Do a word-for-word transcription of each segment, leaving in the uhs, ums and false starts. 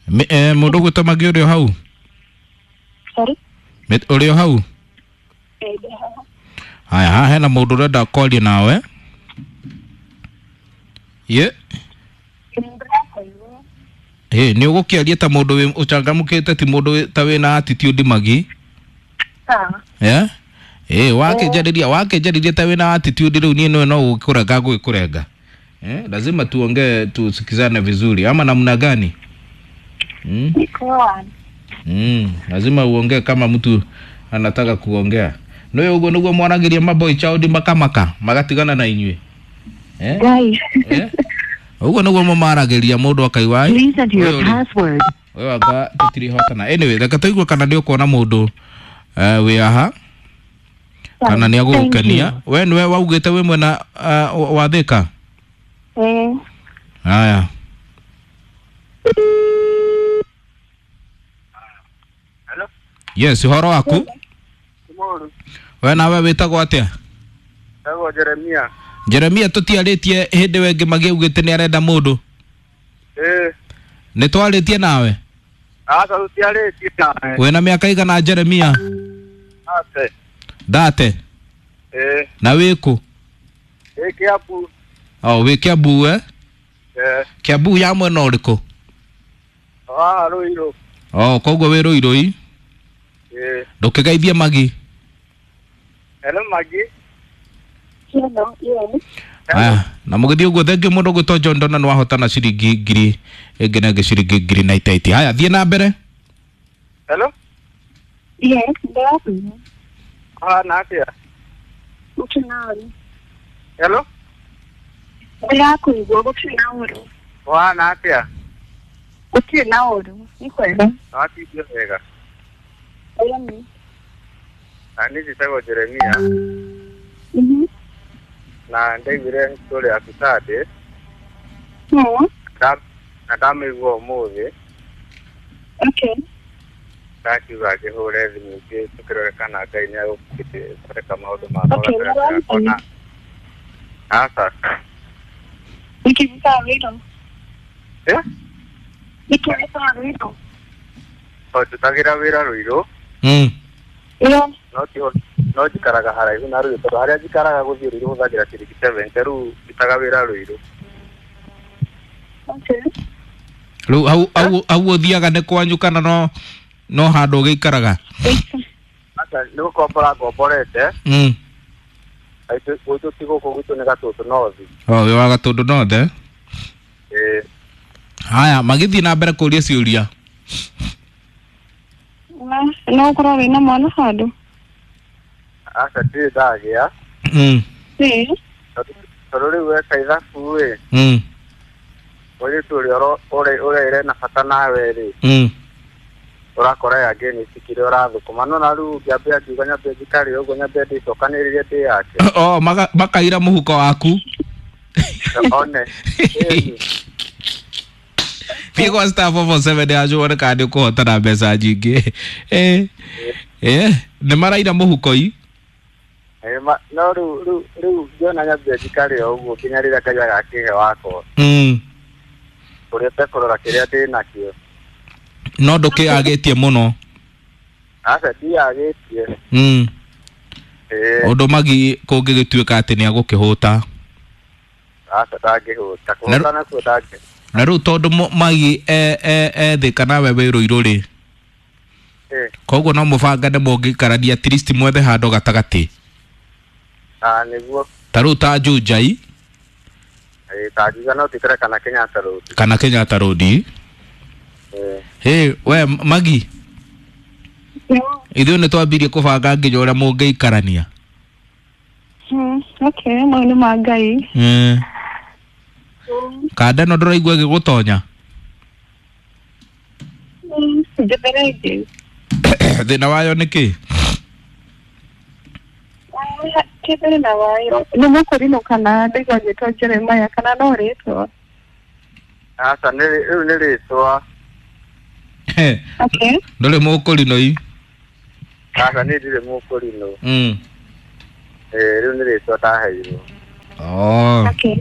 Mi- eh, Mũndũ ũgwĩtwo Magi ũrĩ o hau? Sorry. Mi- Ũrĩ o hau? Eh, ndĩ haha. Haya, haha hena mũndũ ũrenda kwaria nawe. Ye. Nĩndĩrakũigua. Ĩ, nĩ ũgũkĩaria ta mũndũ wĩ ũcangamũkĩte, ti mũndũ wĩ- ta wĩna attitude Magi. Sawa. Eh? Ĩ, wakĩnjarĩria wakĩnjarĩria ta wĩna attitude rĩu niĩ nĩwe no gũkũrenga ngũgĩkũrenga. Eh, lazima tuongee tusikizane vizuri ama namna gani? Mm? Niko. Mm, lazima uongee kama mtu anataka kuongea. Nĩ ũguo nĩguo mwaragĩria maboy child makamaka magatigana na inyuĩ. Eh? Guys. Eh? Ũguo nĩguo mũmaragĩria mũndũ akaigua "Ai, Please enter your ũyũ rĩ, password. ũyũ anga tũtirihotana." Anyway, reke tũigue kana nĩ ũkuona mũndũ eh, wĩ aha kana nĩ agũgũkenia. We nĩwe waugĩte wĩ mwena uh, wa Thĩka? Eh. Haya. Hello? Yes, ũhoro waku? Tomorrow. We nawe wĩtagwo atĩa? Ndagwo Jeremia. Jeremia, tũtiarĩtie hĩndĩ we Magi augĩte nĩ arenda mũndũ. Eh, Nĩ twarĩtie nawe? aca tũtiarĩtie nawe. Wĩna mĩaka igana Jeremia? Ate. Thate. Eh, Na wĩkũ? ĩ Kiambu. O, wĩ Kiambu eh? Eh, Kiambu ya mwena ũrĩkũ? haha Ruiru. O, koguo wĩ Ruiru. Eh, Ndũkĩgeithie Magi. hello Magi. Hello. Yes. Aya, na mũgĩthiĩ ũguo thengiũ mũndũ ũgwĩtwo John Dona nĩ wahotana ciringi ngiri ĩngĩ na ĩngĩ ciringi ngiri na itaiti. Haya, thiĩ na mbere. Hello? Yes, ndĩrakũigua. Ũhana atĩa? Gũtirĩ na ũru. Hello? Ndĩrakũigua gũtirĩ na ũru. Ũhana atĩa? Gũtirĩ na ũru. Nĩ kwega. Watindio wega. Ĩni. Na niĩ njĩtagwo Jeremia Mhm. na ndaiguire story yaku Sunday Mm. na na ndamĩigua ũmũthĩ. Okay. Ndakiuga ngĩhũre thimũ ingĩ tũkĩrore kana Ngai nĩ agũthondeka maũndũ makwa Okay, gatagatĩ gakwa na aca. Nĩkĩ gĩkaga Ruiru? Eh? Nĩkĩ gĩkaga Ruiru? Tondũ ndutagĩra wĩra Ruiru. Mm. Ĩyo. No ti no njikaraga haraihu na Ruiru tondũ harĩa njikaraga gũthiĩ Ruiru hũthagĩra ciringi seventy rĩu ndutaga wĩra Ruiru. Okay. Rĩu hau hau hau ũthiaga nĩ kwanyu kana no no handũ ũgĩikaraga? Aca nĩ gũkombora ngomborete. Mm. Aitũ gwitũ ti gũkũ, gwitũ nĩ Gatũndũ North. O, wĩ wa Gatũndũ North eh? Ĩĩ. Haya, magĩthiĩ na mbere kũria ciũria. Na no ũkorwo wĩna mwana handũ? Aca ndirĩ ndagĩa. Mm. Ĩĩ. Tondũ tondũ rĩu weka ithabu ĩ, Mm. mũirĩtu ũrĩa ũro- ũrĩa ũrĩa ĩrĩ na bata nawe rĩ, Mm. ũrakora yangĩ nĩ cikire ũrathũkũma no na rĩu ngĩambia ngiuga nyambe njikare ũguo nyambe ndĩcokanĩrĩrie ndĩ yake. O, maka, makaira mũhuko waku. One. Ĩni. Thiĩ kwa star four four seven yacu wone kana nĩ ũkũhotana mbeca nyingĩ. Eh. Eh, nĩ maraira mũhuko i. Ĩ, ma- no rĩu rĩu rĩu ngĩona nyambe njikare o ũguo nginya rĩrĩa Ngai agakĩhe wakwa. Mm. Ũrĩa ũtekũrora kĩrĩa ndĩ nakĩo. No ndũkĩagĩtie mũno. Aca ndiagĩtie. Mm. Ĩĩ. Ũndũ Magi kũngĩgĩtuĩka atĩ nĩ agũkĩhũta. Aca ndangĩhũta. Kũhũta nakuo ndangĩ. Na rĩu tondũ mo- Magi e e e Thĩka nawe wĩ Ruiru rĩ. Ĩĩ. Koguo no mũbangane mũngĩikarania at least mwethe handũ gatagatĩ. Ah, nĩguo. Ta rĩu ta Juja i Ĩĩ, ta Juja no tũikare kana Kenyatta Road. Kana Kenyatta Road. Ĩĩ. Hey, we Magi, ithuĩ nĩ twambirie kũbanga nginya ũrĩa mũngĩikarania. Mm. Okay, mau nĩ ma Ngai. Mm. Kanda ĩno ndũraigua ĩgĩgũtonya? Mm. Njethera ĩngĩ. Thĩna wayo nĩ kĩ? Kĩ thĩna wayo? Nĩ mũkũrinũ kana ndaigua ngĩtwo Jeremiah kana no rĩtwa? Aca nĩ rĩu nĩ rĩtwa. Okay. Ndũrĩ mũkũrinũ i? Aca niĩ ndirĩ mũkũrinũ. Mm. Ĩĩ, rĩu nĩ rĩtwa ndaheirwo. Oh. Okay.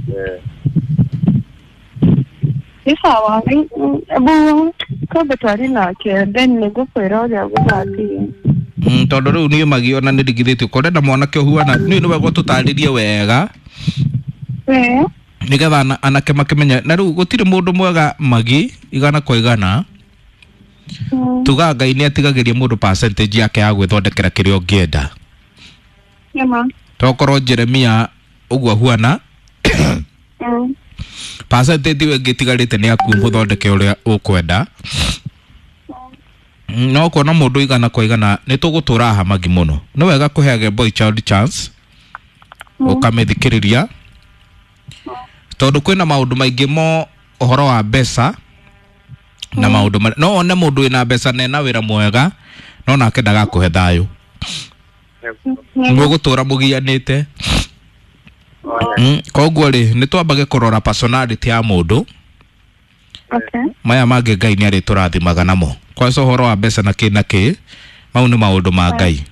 Ĩĩ. Nĩ sawa, ebu twambe twarie nake then nĩngũkwĩra ũrĩa gũgathiĩ. Mm, tondũ rĩu niĩ Magi ona nĩ ndigithĩtio korenda mwanake ũhuana niĩ nĩ wega ũtũtarĩrie wega Eh, nĩgetha ana- anake makĩmenye. Na rĩu gũtirĩ mũndũ mwega Magi igana kwa igana. mm, Tugaga Ngai nĩ atigagĩria mũndũ percentage yake ya gwĩthondekera kĩrĩa ũngĩenda. Nĩma. Tokorwo Jeremia ũguo ahuana, Mm, percentage ĩyo ĩngĩ ĩtigarĩte nĩ yaku mũthondeke ũrĩa ũkwenda. Mm, no kuona mũndũ igana kwa igana nĩ tũgũtũra haha Magi mũno. Nĩ wega kũheage boy child chance, ũkamĩthikĩrĩria, tondũ kwĩna maũndũ maingĩ mo ũhoro wa mbeca na maũndũ marĩa no one mũndũ wĩna mbeca na ena wĩra mwega no nake ndagakũhe thayũ, mũgũtũra mũgianĩte. Mm, koguo rĩ nĩ twambage kũrora personality ya mũndũ. Okay. Maya mangĩ Ngai nĩ arĩtũrathimaga namo. Kwanza ũhoro wa mbeca na kĩ na kĩ, mau nĩ maũndũ ma Ngai,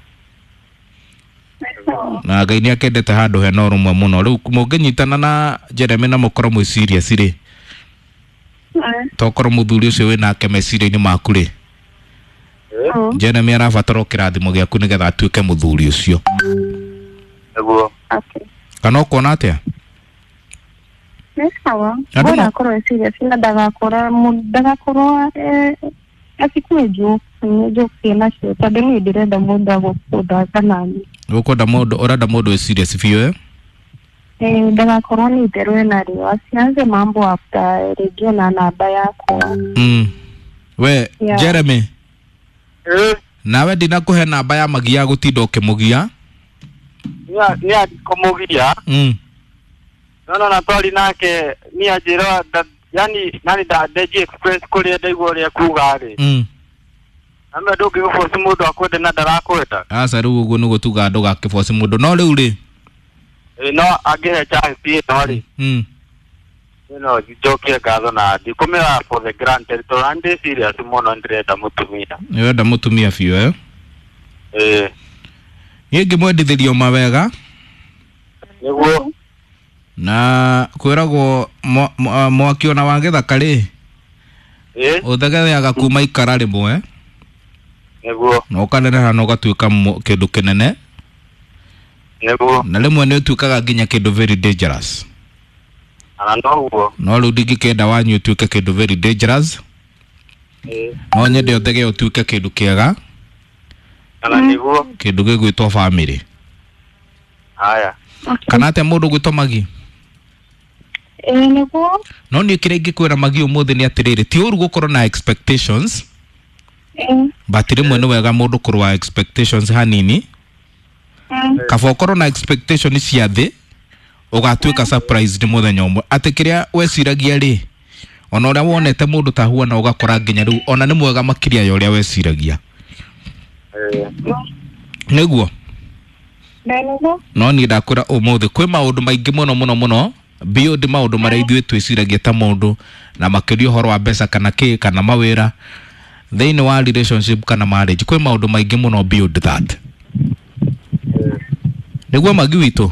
na Ngai nĩ akendete handũ hena ũrũmwe mũno. Rĩu mũngĩnyitana na Jeremy na mũkorwo mwĩ serious rĩ, Eh, tokorwo mũthuri ũcio wĩnake meciria-inĩ maku rĩ, mm, Jeremy arabatara o kĩrathimo gĩaku nĩgetha atuĩke mũthuri ũcio. Nĩguo. Okay. Kana ũkuona atĩa? Nĩ sawa. Andũ Bora ma- akorwo e serious na ndagakorwo mu- ndagakorwo eh, atikue jokes, nĩ jokes ena cio, tondũ niĩ ndĩrenda mũndũ agũkũthaka nani. Ũkwenda mũndũ, ũrenda mũndũ wĩ serious biũ, eh? Eh, ndagakorwo nĩ itherũ enarĩo, asianze mambo after rĩngĩ ona namba yakwa. Mm. We Yeah. Jeremy, Ĩĩ, nawe ndinakũhe namba ya Magi ya gũtinda ũkĩmũgia. niĩ andikũmũgia. Mm. No no na twari nake niĩ anjĩra nda- yani nani ndandenji express kũrĩa ndaigua ũrĩa kuga rĩ, Mm. ame ndũngĩgũboci mũndũ akwende na ndarakwenda. Aca, rĩu ũguo nĩguo tugaga ndũgakĩboci mũndũ, no rĩu rĩ, Ĩĩ, no angĩhe chance ĩno rĩ, mm. no njokie ngatho na ndikũmĩra for the granted tondũ ndĩ serious mũno, ndĩrenda mũtumia. Nĩwenda mũtumia biũ, eh? Ĩĩ. Niĩ ngĩmwendithĩrio mawega. Nĩguo. Na kwĩragwo mwa- mwa- mwaki ona wa gĩthaka rĩ, Ĩĩ. ũthegeaga kuma ikara rĩmwe Nĩguo. na ũkaneneha na ũgatuĩka mũ- kĩndũ kĩnene. Nĩguo. Na rĩmwe nĩ ũtuĩkaga nginya kĩndũ very dangerous. Ana noguo. No rĩu ndingĩkĩenda wanyu ũtuĩke kĩndũ very dangerous. Ĩĩ. No nyende ũthege ũtuĩke kĩndũ kĩega, Ana nĩguo. kĩndũ gĩgwĩtwo family. Haya. Okay. Kana atĩa mũndũ gwĩtwo Magi? Ĩĩ, nĩguo. No niĩ kĩrĩa ingĩkwĩra Magi ũmũthĩ nĩ atĩrĩrĩ, ti ũru gũkorwo na expectations, Ĩĩ. but rĩmwe nĩ wega mũndũ kũrũa expectations hanini. Mm, Kaba ũkorwo na expectation cia thĩ, ũgatuĩka surprised mũthenya ũmwe atĩ kĩrĩa weciragia rĩ, ona ũrĩa wonete mũndũ ta huana, ũgakora nginya rĩu ona nĩ mwega makĩria ya ũrĩa weciragia. Ĩĩ. Nĩguo. Ĩĩ, nĩguo. No niĩ ndakwĩra ũmũthĩ kwĩ maũndũ maingĩ mũno mũno mũno beyond maũndũ marĩa ithuĩ twĩciragia ta mũndũ, na makĩria ũhoro wa mbeca kana kĩ kana mawĩra thĩinĩ wa relationship kana marriage. Kwĩ maũndũ maingĩ mũno beyond that. Nĩguo, Magi witũ?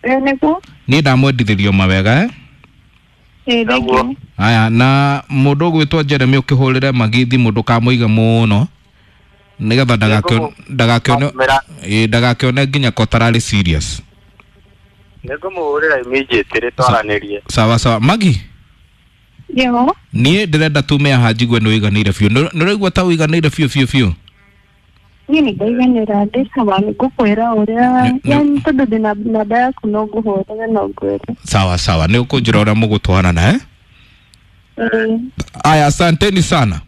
Ĩĩ, nĩguo. Niĩ ndamwendithĩrio mawega, eh? Ĩĩ, thank you. Aya, na mũndũ ũgwĩtwo Jeremy, ũkĩhũrĩre Magi thimũ, ndũkamũige mũno nĩgetha ndagakĩone ndagakĩone Mĩra- ĩ, ndagakĩone nginya ko tararĩ serious. Nĩngũmũhũrĩra immediately twaranĩrie. Sawa sawa, Magi. Yo. Niĩ ndĩrenda tume haha njigue nĩ ũiganĩire biũ. Nĩ nĩ ũraigua ta ũiganĩire biũ biũ biũ? Niĩ nĩ ndaiganĩra, ndĩ sawa, nĩ ngũkwĩra ũrĩa Nĩ- nĩ- yani tondũ ndĩna namba yaku, no ngũhũrĩre no ngwĩre. Sawa sawa, nĩ ũkũnjĩra ũrĩa mũgũtwarana, eh? Ĩĩ. Aya, asanteni sana.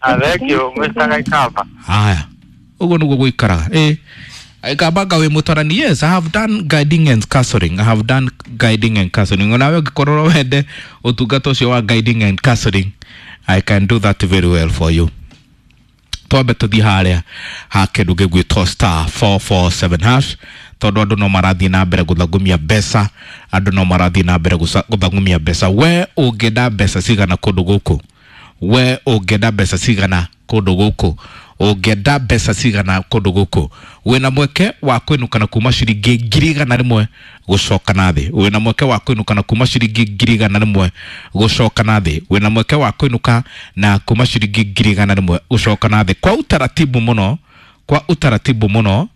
Ah, thank you Mister Gaikamba. Haya, ũguo nĩguo gũikaraga. Ĩ Aikamba wĩ mũtarani. Yes, I have done guiding and counseling. I have done guiding and counseling. Onawe ũngĩkorwo wende ũtungata ũcio wa guiding and counseling, I can do that very well for you. Twambe tũthiĩ harĩa ha kĩndũ gĩgwĩtwo star four four seven hash, tondũ andũ no marathiĩ na mbere gũthangumia mbeca, andũ no marathiĩ na mbere gũca- gũthangumia mbeca. We ũngĩenda mbeca cigana kũndũ gũkũ? We ũngĩenda mbeca cigana kũndũ gũkũ? Ũngĩenda mbeca cigana kũndũ gũkũ? Wĩna mweke wa kwĩnũkana kuma ciringi ngiri igana rĩmwe. gucoka na thĩ. Wĩna mweke wa kũinũka na kuma ciringi ngiri igana rĩmwe gũcoka na thĩ. Wĩna mweke wa kũinũka na kuma ciringi ngiri igana rĩmwe gũcoka na thĩ. Kwa utaratibu mũno, kwa utaratibu mũno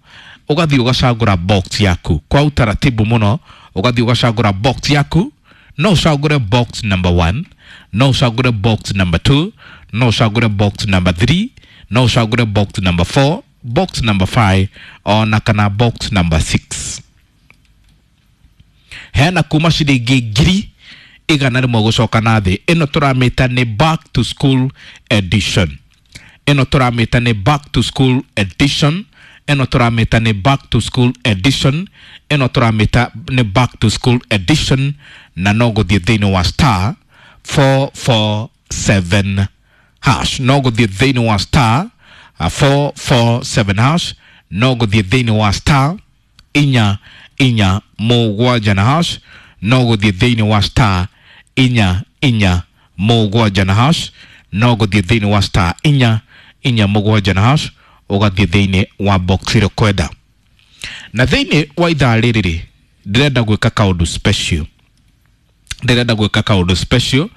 ũgathiĩ ũgacagũra box yaku. Kwa utaratibu mũno ũgathiĩ ũgacagũra box yaku. No ũcagũre box number one, no ũcagũre box number two, no ũcagũre box number three, no ũcagũre box number four, box number five ona kana box number six. Hena kuma ciringi ngiri igana rĩmwe gũcoka na thĩ. Ĩno tũramĩta nĩ back to school edition. Ĩno tũramĩta nĩ back to school edition. Ĩno tũramĩta nĩ back to school edition. Ĩno tũramĩta nĩ back to school edition na no gũthiĩ thĩinĩ wa star four four seven hash. No gũthiĩ thĩinĩ wa star four four seven hash. No gũthiĩ thĩinĩ wa star inya inya mũgwanja na hash. No gũthiĩ thĩinĩ wa star inya inya mũgwanja na hash. No gũthiĩ thĩinĩ wa star inya inya mũgwanja na hash ũgathiĩ thĩinĩ wa box ĩrĩa ũkwenda. Na thĩinĩ wa ithaa rĩrĩ rĩ, ndĩrenda gwĩka kaũndũ special. Ndĩrenda gwĩka kaũndũ special.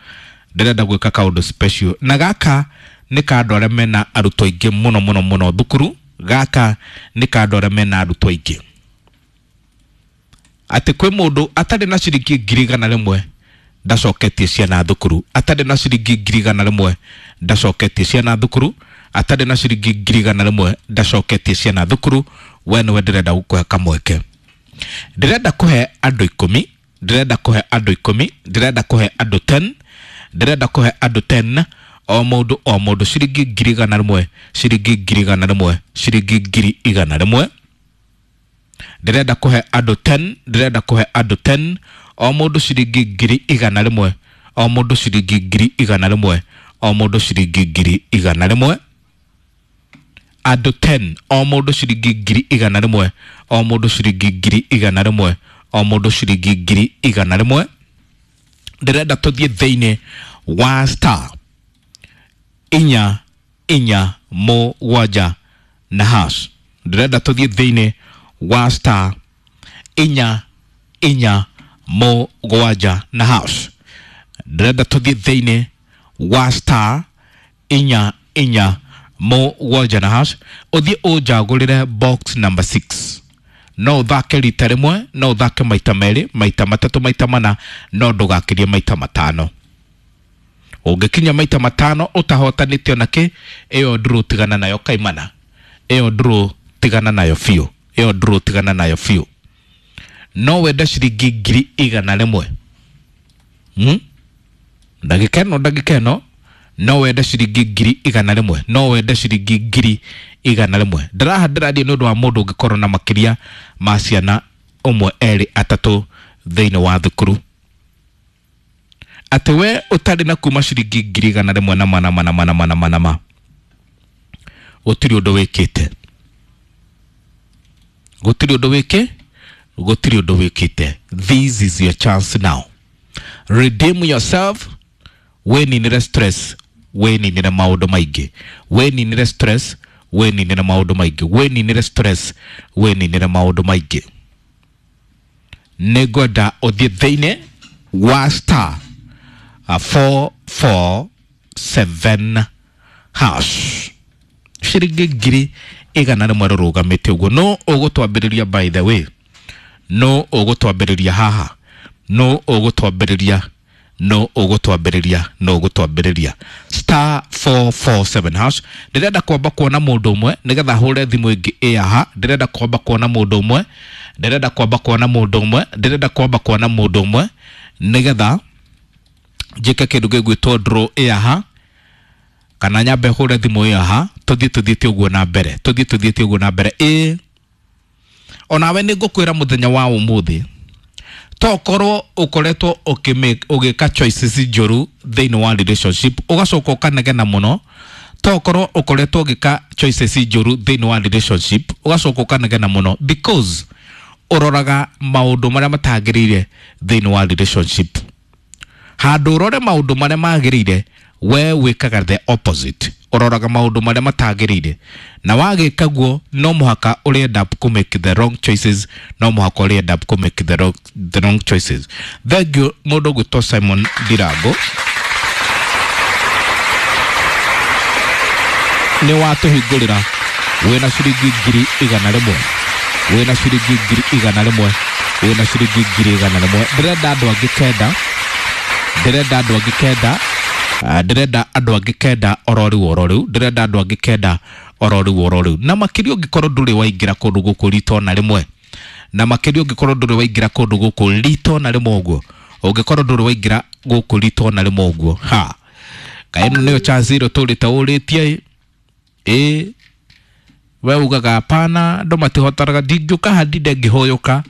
Ndĩrenda gwĩka kaũndũ special. Na gaka nĩ ka andũ arĩa mena arutwo aingĩ mũno mũno mũno thukuru. Gaka nĩ ka andũ arĩa mena arutwo aingĩ. Atĩ kwĩ mũndũ atarĩ na ciringi ngiri igana rĩmwe ndacoketie ciana thukuru. Atarĩ na ciringi ngiri igana rĩmwe ndacoketie ciana thukuru. Atarĩ na ciringi ngiri igana rĩmwe ndacoketie ciana thukuru. We nĩwe ndĩrenda gũkũhe kamweke. Ndĩrenda kũhe andũ ikũmi. Ndĩrenda kũhe andũ ikũmi. Ndĩrenda kũhe andũ ten. Ndĩrenda kũhe andũ ten. O mũndũ o mũndũ ciringi ngiri igana rĩmwe, ciringi ngiri igana rĩmwe, ciringi ngiri igana rĩmwe. Ndĩrenda kũhe andũ ten. Ndĩrenda kũhe andũ ten. O mũndũ ciringi ngiri igana rĩmwe, o mũndũ ciringi ngiri igana rĩmwe, o mũndũ ciringi ngiri igana rĩmwe. Andũ ten, o mũndũ ciringi ngiri igana rĩmwe, o mũndũ ciringi ngiri igana rĩmwe, o mũndũ ciringi ngiri igana rĩmwe. Ndĩrenda tũthiĩ thĩinĩ wa star inya inya mũgwanja na hash. Ndĩrenda tũthiĩ thĩinĩ wa star inya inya mũgwanja na hash. Ndĩrenda tũthiĩ thĩinĩ wa star inya inya mũgwanja na hash. Ũthiĩ ũnjagũrĩre box number six. No ũthake rita rĩmwe, no ũthake maita merĩ, maita matatũ, maita mana, no ndũgakĩrie maita matano. Ũngĩkinya maita matano ũtahotanĩte ona kĩ, ĩyo ndũrũ tigana nayo kaimana. Ĩyo ndũrũ tigana nayo biũ. Ĩyo ndũrũ tigana nayo biũ. No wende ciringi ngiri igana rĩmwe. Hmm? Ndagĩka ĩno, ndagĩka ĩno, no wende ciringi ngiri igana rĩmwe. No wende ciringi ngiri igana rĩmwe. Ndĩraha ndĩraria nĩ ũndũ wa mũndũ ũngĩkorwo na makĩria ma ciana ũmwe, erĩ, atatũ thĩinĩ wa thukuru. Atĩ we ũtarĩ na kuma ciringi ngiri igana rĩmwe na mana mana mana mana mana ma, gũtirĩ ũndũ wĩkĩte. Gũtirĩ ũndũ wĩkĩ, gũtirĩ ũndũ wĩkĩte. This is your chance now. Redeem yourself. Wĩninĩre stress, wĩninĩre maũndũ maingĩ. Wĩninĩre stress, wĩninĩre maũndũ maingĩ. Wĩninĩre stress, wĩninĩre maũndũ maingĩ. Nĩngwenda ũthiĩ thĩinĩ wa star four four seven hash. Ciringi ngiri igana rĩmwe rũrũgamĩte ũguo. No ũgũtwambĩrĩria, by the way, no ũgũtwambĩrĩria haha, no ũgũtwambĩrĩria, no ũgũtwambĩrĩria, no ũgũtwambĩrĩria star four four seven hash. Ndĩrenda kwamba kuona mũndũ ũmwe nĩgetha hũre thimũ ĩngĩ ĩ haha. Ndĩrenda kwamba kuona mũndũ ũmwe, ndĩrenda kwamba kuona mũndũ ũmwe, ndĩrenda kwamba kuona mũndũ ũmwe nĩgetha njĩke kĩndũ gĩgwĩtwo draw ĩ haha, kana nyambe hũre thimũ ĩ haha. Tũthiĩ tũthiĩte ũguo na mbere, tũthiĩ tũthiĩte ũguo na mbere. Ĩ onawe nĩ ngũkwĩra mũthenya wa ũmũthĩ, tokorwo ũkoretwo ũgĩka choices njũru thĩinĩ wa relationship, ũgacoka ũkanegena mũno. Tokorwo ũkoretwo ũgĩka choices njũru thĩinĩ wa relationship, ũgacoka ũkanegena mũno because ũroraga maũndũ marĩa matagĩrĩire thĩinĩ wa relationship. Handũ ũrore maũndũ marĩa magĩrĩire, we wĩkaga the opposite. Ũroraga maũndũ marĩa matagĩrĩire, na wagĩka guo no mũhaka ũrĩ end up kũ make the wrong choices, no mũhaka ũrĩ end up kũ make the wrong, the wrong choices. Thank you mũndũ ũgwĩtwo Simon Ndirango, nĩ watũhingũrĩra. Wĩna ciringi ngiri igana rĩmwe, wĩna ciringi ngiri igana rĩmwe, wĩna ciringi ngiri igana rĩmwe. Ndĩrenda andũ angĩ kenda, ndĩrenda andũ angĩ kenda. Ah, ndĩrenda andũ angĩ kenda oro rĩu oro rĩu, ndĩrenda andũ angĩ kenda oro rĩu oro rĩu. Na makĩria ũngĩkorwo ndũrĩ waingĩra kũndũ gũkũ rita ona rĩmwe, na makĩria ũngĩkorwo ndũrĩ waingĩra kũndũ gũkũ rita ona rĩmwe ũguo, ũngĩkorwo ndũrĩ waingĩra gũkũ rita ona rĩmwe ũguo, ha kaĩ ĩno nĩyo chance ĩrĩa ũtũrĩte ũrĩtie. Ĩ we ugaga hapana, andũ matihotaraga, ndingĩũka haha ndinde ngĩhũyũka,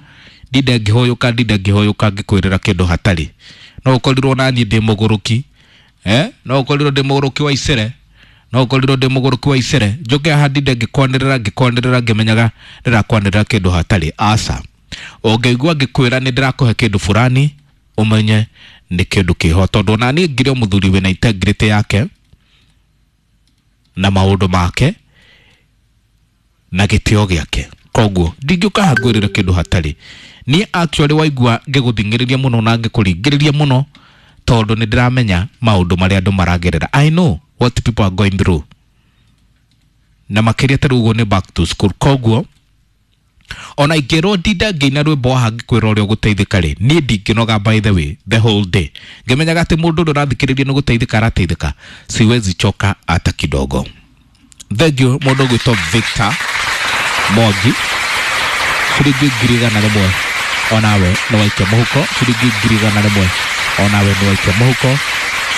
ndinde ngĩhũyũka, ndinde ngĩhũyũka ngĩkwĩrĩra kĩndũ hatarĩ. No ũkorirwo na niĩ ndĩ mũgũrũki, eh no ũkorirwo ndĩ mũgũrũki wa icere, no ũkorirwo ndĩ mũgũrũki wa icere, njũke haha ndinde ngĩkwanĩrĩra ngĩkwanĩrĩra ngĩmenyaga ndĩrakwanĩrĩra kĩndũ hatarĩ. Aca, ũngĩigua ngĩkwĩra nĩ ndĩrakũhe kĩndũ fulani, ũmenye nĩ kĩndũ kĩho, tondũ ona niĩ ngĩrĩ o mũthuri wĩna integrity yake na maũndũ make na gĩtĩo gĩake. Koguo ndingĩũka haha ngwĩrĩre kĩndũ hatarĩ. Niĩ actually waigua ngĩgũthing'ĩrĩria mũno na ngĩkũringĩrĩria mũno, tondũ nĩ ndĩramenya maũndũ marĩa andũ maragerera. I know what people are going through, na makĩria ta rĩu ũguo nĩ back to school. Koguo ona ingĩrwo ndinda ngĩina rwĩmbo haha ngĩkwĩra ũrĩa ũgũteithĩka rĩ, niĩ ndingĩnoga by the way the whole day ngĩmenyaga atĩ mũndũ ũrĩa ũrathikĩrĩria nĩ gũteithĩka arateithĩka. Siwezi choka hata kidogo. Thank you mũndũ ũgwĩtwo Victor Mwangi, ciringi ngiri igana rĩmwe onawe nĩ waikia mũhuko, ciringi ngiri igana rĩmwe onawe nĩ waikia mũhuko,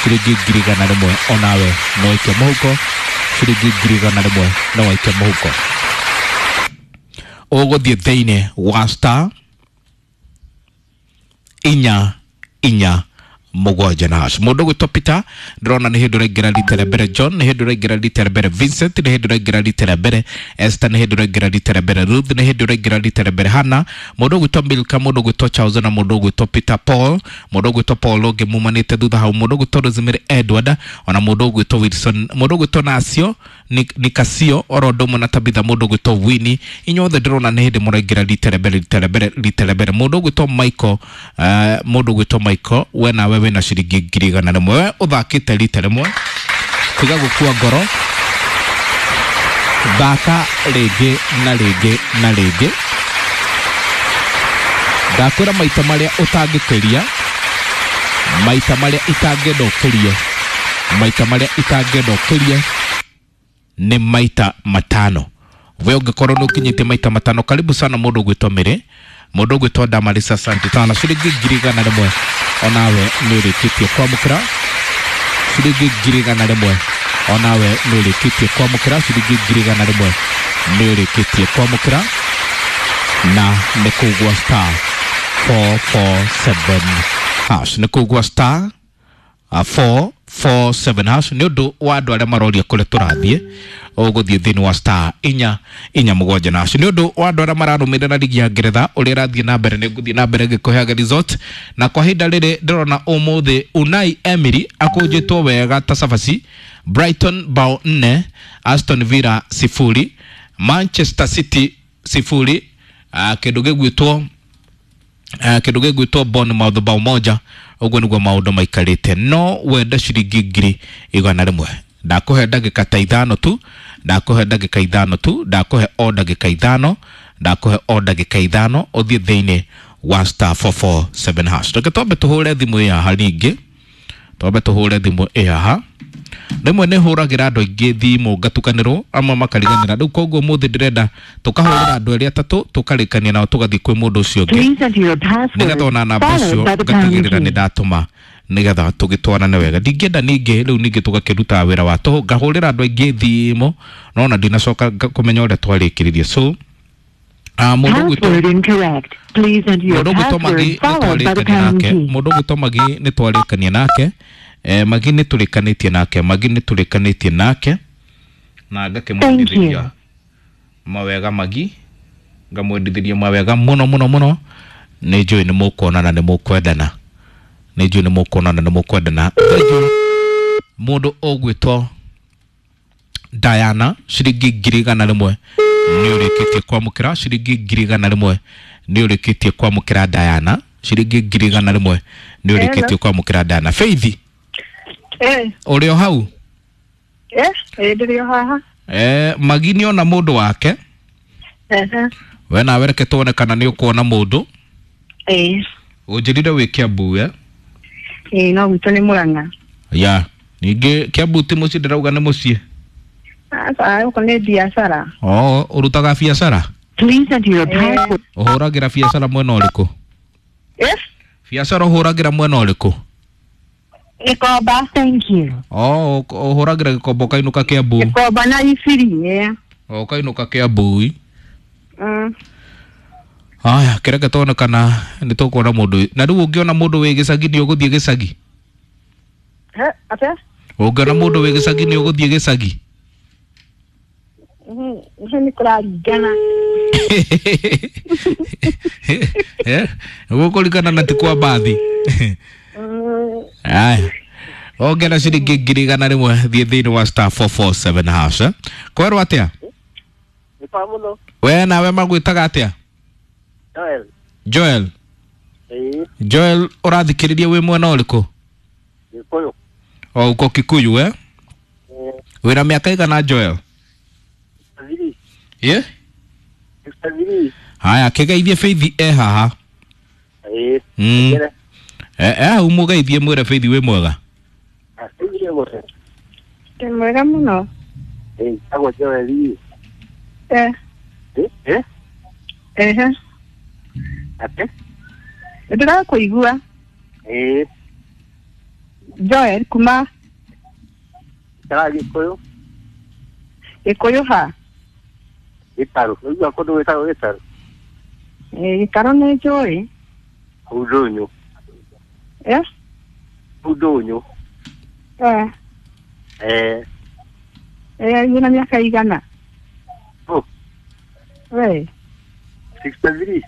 ciringi ngiri igana rĩmwe onawe nĩ waikia mũhuko, ciringi ngiri igana rĩmwe nĩ waikia mũhuko. Ũgũthiĩ thĩinĩ wa star inya inya mũgwanja na hash. Mũndũ ũgwĩtwo Peter ndĩrona nĩ hĩndĩ ũraingĩra rita rĩa mbere, John nĩ hĩndĩ ũraingĩra rita rĩa mbere, Vincent nĩ hĩndĩ ũraingĩra rita rĩa mbere, Esther nĩ hĩndĩ ũraingĩra rita rĩa mbere, Ruth nĩ hĩndĩ ũraingĩra rita rĩa mbere, Hannah, mũndũ ũgwĩtwo Milka, mũndũ ũgwĩtwo Charles na mũndũ ũgwĩtwo Peter Paul, mũndũ ũgwĩtwo Paul ũngĩ mumanĩte thutha hau, mũndũ ũgwĩtwo Rosemary Edward, ona mũndũ ũgwĩtwo Wilson, mũndũ ũgwĩtwo Nacio Nikasio oro ũndũ ũmwe na Tabitha, mũndũ ũgwĩtwo Winnie. Inyuothe ndĩrona nĩ hĩndĩ mũraingĩra rita rĩa mbere, rita rĩa mbere, rita rĩa mbere. Mũndũ ũgwĩtwo Michael, eh, mũndũ ũgwĩtwo Michael, we nawe wĩna ciringi ngiri igana rĩmwe, we ũthakĩte rita rĩmwe, tiga gũkua ngoro, thaka rĩngĩ na rĩngĩ na rĩngĩ. Ndakwĩra maita marĩa ũtangĩkĩria, maita marĩa itangĩenda ũkĩrie, maita marĩa itangĩenda ũkĩrie nĩ maita matano. We ũngĩkorwo nĩ ũkinyĩtie maita matano, karibu sana mũndũ ũgwĩtwo Mĩrĩ, mũndũ ũgwĩtwo Damarisa, asante sana. Ciringi ngiri igana rĩmwe onawe nĩ ũrĩkĩtie kwamũkĩra, ciringi ngiri igana rĩmwe onawe nĩ ũrĩkĩtie kwamũkĩra, ciringi ngiri igana rĩmwe nĩ ũrĩkĩtie kwamũkĩra, na nĩ kũgwa star four four seven hash, nĩ kũgwa star uh, four four seven hash. Nĩ ũndũ wa andũ arĩa maroria kũrĩa tũrathiĩ, ũgũthiĩ thĩinĩ wa star inya inya mũgwanja na hash. Nĩ ũndũ wa andũ arĩa mararũmĩrĩra ligi ya Ngeretha ũrĩa ĩrathiĩ na mbere, nĩ ngũthiĩ na mbere ngĩkũheaga result, na kwa ihinda rĩrĩ ndĩrona ũmũthĩ Unai Emery akũnjĩtwo wega ta cabaci, Brighton bao nne, Aston Villa sifuri, Manchester City sifuri, uh, kĩndũ gĩgwĩtwo uh, kĩndũ gĩgwĩtwo Bournemouth bao moja. Ũguo nĩguo maũndũ maikarĩte. No wende ciringi ngiri igana rĩmwe, ndakũhe ndagĩka ta ithano tu, ndakũhe ndagĩka ithano tu, ndakũhe o ndagĩka ithano, ndakũhe o ndagĩka ithano ũthiĩ thĩinĩ wa star four four seven hash. Reke twambe tũhũre thimũ ĩ haha rĩngĩ, twambe tũhũre thimũ ĩ haha. Rĩmwe nĩ hũragĩra andũ aingĩ thimũ ngatukanĩrwo, amwe makariganĩra. Rĩu koguo ũmũthĩ ndĩrenda tũkahũrĩra andũ erĩ atatũ, tũkarĩkania nao, tũgathiĩ kwĩ mũndũ ũcio ũngĩ, Please enter your password nĩgetha ona namba followed ũcio by the pound ngatigĩrĩra nĩ key. ndatũma, nĩgetha tũgĩtwarane wega. Ndingĩenda ningĩ rĩu ningĩ tũgakĩruta wĩra wa tũhũ, ngahũrĩra andũ aingĩ thimũ no ona ndinacoka nga- kũmenya ũrĩa twarĩkĩrĩrie. So ah, mũndũ ũgwĩtwo Password incorrect. Please enter your mũndũ ũgwĩtwo password Magi nĩ followed by the twarĩkania pound nake, key. mũndũ ũgwĩtwo Magi nĩ twarĩkania nake, eh, Magi nĩ tũrĩkanĩtie nake, Magi nĩ tũrĩkanĩtie nake na Thank ngakĩmwendithĩria you. mawega Magi, ngamwendithĩria mawega mũno mũno mũno. Nĩ njũĩ nĩ mũkuonana, nĩ mũkwendana, nĩ njũĩ nĩ mũkuonana, nĩ mũkwendana. Thank you mũndũ ũgwĩtwo Diana ciringi ngiri igana rĩmwe nĩ ũrĩkĩtie kwamũkĩra ciringi ngiri igana rĩmwe nĩ ũrĩkĩtie kwamũkĩra Diana ciringi ngiri igana rĩmwe nĩ ũrĩkĩtie kwamũkĩra Diana. Faith Eh, ũrĩ o hau? Eh, eh ndĩrĩ o haha. Eh, Magi nĩ ona mũndũ wake. Ehe. We nawe reke tuone kana nĩ ũkuona mũndũ. Eh, Ũnjĩrire wĩ Kiambu eh? eh no gwitũ nĩ Murang'a. Ya ningĩ Kiambu ti mũciĩ ndĩrauga nĩ mũciĩ. Aca gũkũ nĩ biacara. Oh, ũrutaga biacara? Please enter your password. Ũhũragĩra biacara mwena ũrĩkũ? Eh, Biacara ũhũragĩra mwena ũrĩkũ? Gĩkomba. Thank you. Oh, ũhũragĩra Gĩkomba ũkainũka Kiambu. Gĩkomba na Ibiri, eh. Oh, ũkainũka Kiambu. Mm. Aya, kĩreke tuone kana nĩ tũkuona mũndũ. Na rĩu ũngĩona mũndũ wĩ gĩcagi nĩ ũgũthiĩ gĩcagi? Eh, atĩa? Ũngĩona mũndũ wĩ gĩcagi nĩ ũgũthiĩ gĩcagi? Mhm, nĩ kũraringana. Eh, gũkũringana na ti kwa mbathi. Mm. Aya. Ongera ciringi ngiri igana rĩmwe thiĩ thĩinĩ wa star four four seven hash. Eh? Kwerwo atĩa? Nĩ kwa mũno. We nawe magwĩtaga atĩa? Joel. Joel. Ĩĩ, Joel ũrathikĩrĩria wĩ mwena ũrĩkũ? Gĩkũyũ. O uko Kikuyu eh? Eh, Wĩna mĩaka igana Joel? three. Ye? Sixty-three. Haya, kĩgeithie Faith e haha. Ĩĩ. Mm. Ngere. Eh, eh, umugeithie mwĩre Faith wĩ mwega. Asigire mũno. Ndĩ mwega mũno. Ĩĩ, tagwo Joel. Eh, Eh, eh, ehe. atĩ? Nĩndĩrakũigua. Ĩĩ, Joel kuma ikaraga Gĩkũyũ. Gĩkũyũ ha? Gĩtarũ. Ũigua kũndũ gwĩtagwo Gĩtarũ? Eh, Gĩtarũ nĩ njũĩ. Kũu Ndũnyũ. Eh, Kũu Ndũnyũ. eh, Eh, eh, wĩna mĩaka igana? oh, We, sixty-three.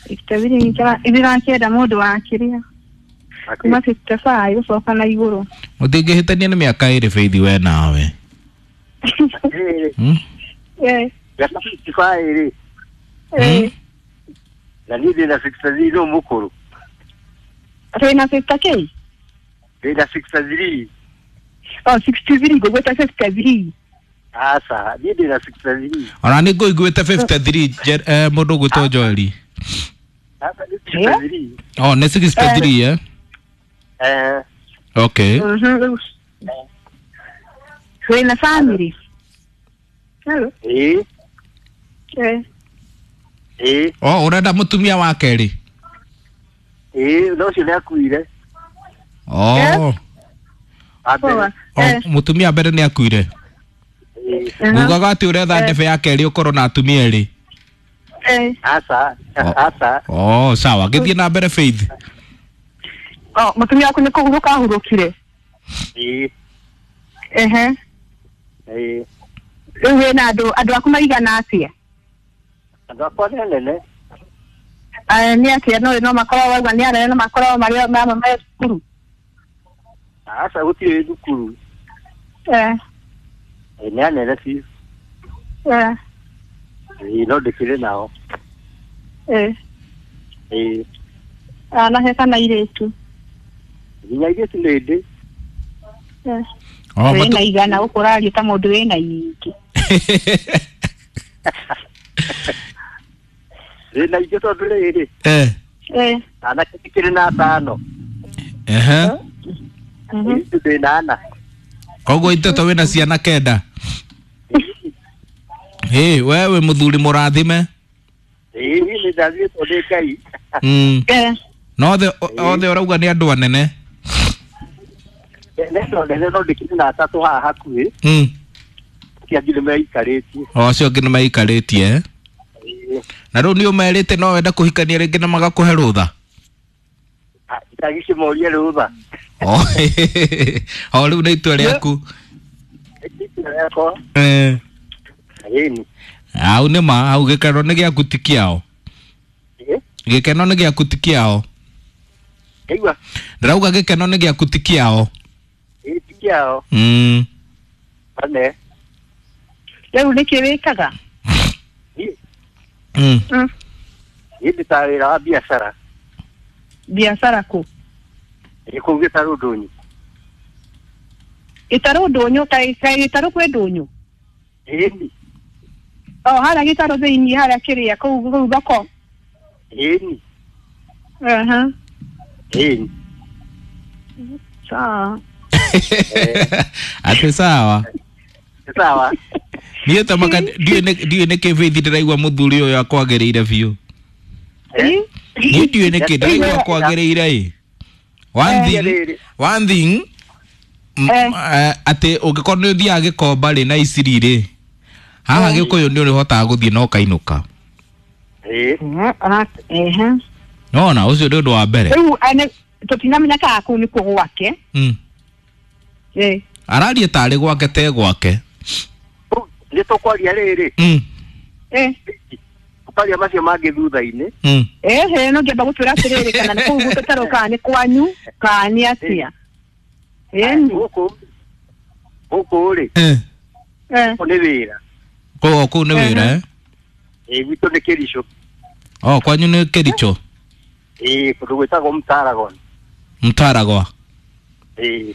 sixty-three ndĩrakĩenda mũndũ wa kĩrĩa kuma Atĩ? fifty-five gũcoka na igũrũ. Mũtingĩhĩtania nĩ mĩaka ĩrĩ Faith we nawe. Ĩĩ, Hmm? Eh, mĩaka fifty-five rĩ. eh, Na niĩ ndĩna sixty-three no mũkũrũ. wĩna fifty kĩ? Ndĩna sixty-three. Oh, sixty-three ngũgwĩta fifty-three. Aca, niĩ ndĩna sixty-three. Ona nĩ ngũiguĩte fifty-three Je- eh, mũndũ ũgwĩtwo Joel. Aca, nĩ sixty-three. Oh, nĩ sixty-three eh? Eh, Okay. Mhm. Wĩna family? Hello. ĩĩ, Eh, ĩĩ, Oh, ũrenda mũtumia wa kerĩ? ĩĩ, no ũcio nĩakuire. Oh. Wa mbere. poa. Oh, Eh, mũtumia mbere nĩ akuire. Ĩĩ. aha. Ngugaga atĩ ũretha ndebe ya kerĩ ũkorwo na atumia erĩ. Eh. Aca, Oh. aca. Oh, sawa. Gĩthiĩ na mbere Faith. Oh, mũtumia waku nĩ kũhurũka ahurũkire? Ĩĩ, Ehe. ĩĩ. Rĩu wĩna andũ andũ aku maigana atĩa? Andũ akwa nĩ anene. Eh, nĩ atĩa no no makorwo wauga nĩ anene no makorwo marĩ mamwe me cukuru? Aca, gũtirĩ thukuru. Eh, Ĩĩ, nĩ anene biũ. eh, Ĩĩ, no ndĩkĩrĩ nao. eh. Ĩĩ, Anake kana airĩtu? nginya airĩtu nĩ ndĩ. Eh. Oh, Wĩna matu- igana gũkũ ũraria ta mũndũ wĩna nyingĩ. Ndĩna ingĩ tondũ rĩrĩ, Eh. Eh. anake ndĩkĩrĩ na atano. Ehe. Mhm. Airĩtu ndĩna ana. Koguo itete wĩna ciana kenda. Ĩ, we wĩ mũthuri mũrathime. Ĩĩ, niĩ nĩ ndathiĩtwo nĩ Ngai. Mm. Eh. Na othe othe ũrauga nĩ andũ anene. Nĩ andũ anene no ndĩkĩrĩ na atatũ haha hakuhĩ. Mm. Acio angĩ nĩ meikarĩtie. O acio angĩ nĩ meikarĩtie. eh? Ĩĩ. Na rĩu nĩ ũmerĩte no wende kũhikania rĩngĩ na magakũhe rũtha. Ah, ndagĩkĩmoria rũtha. Oh, o rĩu nĩ itua rĩaku. Nĩ itua rĩakwa. Eh. Ĩni. Hau nĩ ma, hau gĩkeno nĩ gĩaku ti kĩao. Ĩĩ. Gĩkeno nĩ gĩaku ti kĩao. Ngaigua. Ndĩrauga gĩkeno nĩ gĩaku ti kĩao. Ĩĩ, ti kĩao. Mm. Ane. Rĩu nĩkĩ wĩkaga? Mm. Mm. Niĩ ndutaga wĩra wa biacara. Biacara kũ? Ĩ kũu Gĩtarũ Ndũnyũ. Gĩtarũ Ndũnyũ, kaĩ kaĩ Gĩtarũ kwĩ Ndũnyũ? Ĩni. O harĩa Gĩtarũ thĩiniĩ harĩa kĩrĩa kũu kũu thoko. Ĩni. Aha. Ĩni. Sawa. Atĩ sawa. Sawa. Niĩ tamaka ndiũĩ nĩ- ndiũĩ nĩkĩ Faith ndĩraigua mũthuri ũyũ akwagĩrĩire biũ. Ĩ? Niĩ ndiũĩ nĩkĩ ndĩraigua akwagĩrĩire ĩ. One thing, one thing m- Eh. eh, atĩ ũngĩkorwo nĩ ũthiaga Gĩkomba rĩ na Iciri rĩ, haha Gĩkũyũ nĩ ũrĩhotaga gũthiĩ na ũkainũka. Ĩ. Ehe, ona- ehe. Nona ũcio nĩ ũndũ wa mbere. Rĩu ane- tũtinamenya kana kũu nĩkuo gwake. Mm. Ĩ. Araria tarĩ gwake te gwake. Nĩ tũkwaria rĩrĩ. Mm. Ĩ. Tũkwaria macio mangĩ thutha-inĩ. Mm. Ehe, no ngĩamba gũtwĩra atĩrĩrĩ kana nĩ kũu Gĩtarũ kana nĩ kwanyu kana nĩ atĩa. Ĩni. Gũkũ gũkũ rĩ, Eh. Eh. gũkũ nĩ wĩra. Kũu kũu nĩ wĩra eh? Ĩ gwitũ nĩ Kĩricho. Oh, kwanyu nĩ Kĩricho. Ĩ kũndũ gwĩtagwo Mtaragon. Mtaragwa. Ĩ.